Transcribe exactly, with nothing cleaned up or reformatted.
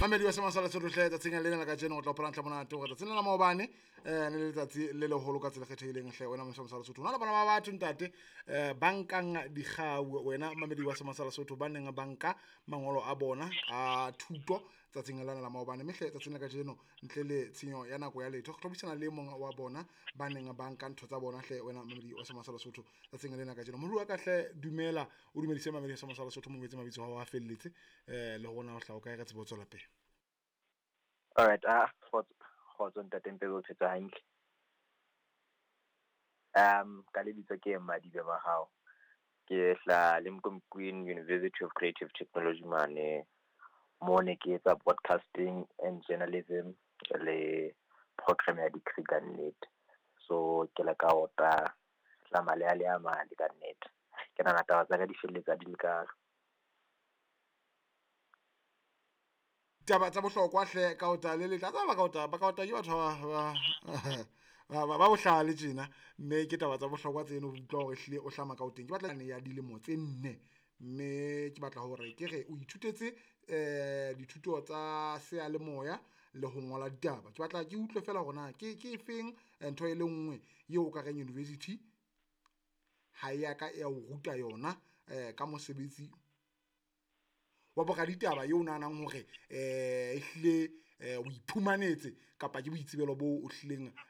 Mamedi wa Sema sa Lesotho hle, tsatsing lena la kajeno o tla hopola ntle monate hore tsatsing la maobane eh ne le letsatsi le leholo ka tsela e kgethehileng hle wena Sema sa Lesotho. Hona le bana ba batho ntate eh ba nkang dikgau, wena mamedi wa Sema sa Lesotho, ba neng ba nka mangolo a bona a thuto tsatsing lena la maobane. Mme hle tsatsing la kajeno ntle le tshenyo ya nako ya letho re tlo buisana le mong wa bona ba neng ba nka ntho tsa bona hle wena mamedi wa Sema sa Lesotho tsatsing lena kajeno. Morui wa ka hle dumela, o dumedise mamedi wa Sema sa Lesotho, mo etse mabitso a hao a felletse eh le hore na o hlaha kae, re tsebe ho tswela pele. Alright, ah, kgotso, kgotso ntate Mpebe, o phetse hantle. Um, ka lebitso ke Madibe Mahao. Ke hla Limkokwing University of Creative Technology mane, mo ne ke etsa broadcasting and journalism le program ya degree ka nnete. So ke le ka ota tla male a le a mane ka nnete. Ke nahana taba tsa ka di felletsa di le ka taba tsa bohlokwa hle ka ota le letla tsaba ka ota ba ka ota ke batho ba ba ba ba bohlale tjena, mme ke taba tsa bohlokwa tseno. Utlwa hore ehlile o hlama ka o teng. Ke batla ya dilemo tse nne, mme ke batla hore ke re o ithutetse eh dithuto tsa seyalemoya le ho ngola ditaba. Ke batla ke utlwe fela hore na ke ke efeng ntho e le nngwe eo o ka reng university ha ya ka ya o ruta yona eh ka mosebetsi wa boraditaba eo nahanang hore eh ehlile o iphumanetse kapa ke boitsebelo bo o hlileng